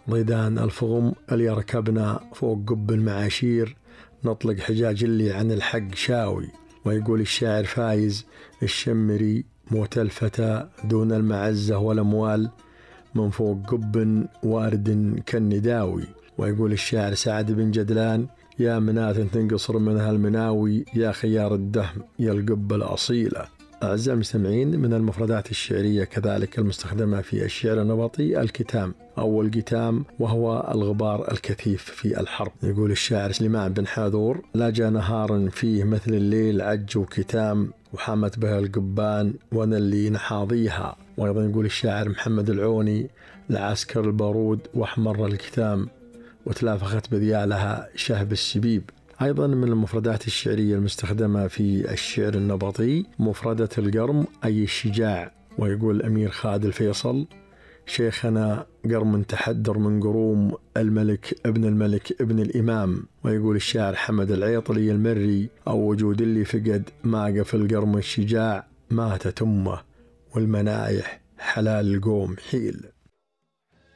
ضيدان الفغم اللي يركبنا فوق قب المعاشير، نطلق حجاج اللي عن الحق شاوي. ويقول الشاعر فايز الشمري: موت الفتى دون المعزة والأموال، من فوق قب وارد كالنداوي. ويقول الشاعر سعد بن جدلان: يا مناة تنقصر منها المناوي، يا خيار الدهم يا القبة الأصيلة. أعزائي المستمعين، من المفردات الشعرية كذلك المستخدمة في الشعر النبطي الكتام أو القتام، وهو الغبار الكثيف في الحرب. يقول الشاعر سليمان بن حاذور: لا جاء نهار فيه مثل الليل عج وكتام، وحامت بها القبان وانا اللي نحاضيها. وأيضا يقول الشاعر محمد العوني: لعسكر البارود واحمر الكتام، وتلافخت بذيالها شهب السبيب. أيضا من المفردات الشعرية المستخدمة في الشعر النبطي مفردة القرم أي الشجاع. ويقول الأمير خالد الفيصل: شيخنا قرم تحدر من قروم الملك ابن الملك ابن الإمام. ويقول الشاعر حمد العيطلي المري: أو وجود اللي فقد ما قف القرم الشجاع، ماتت أمه والمنايح حلال القوم حيل.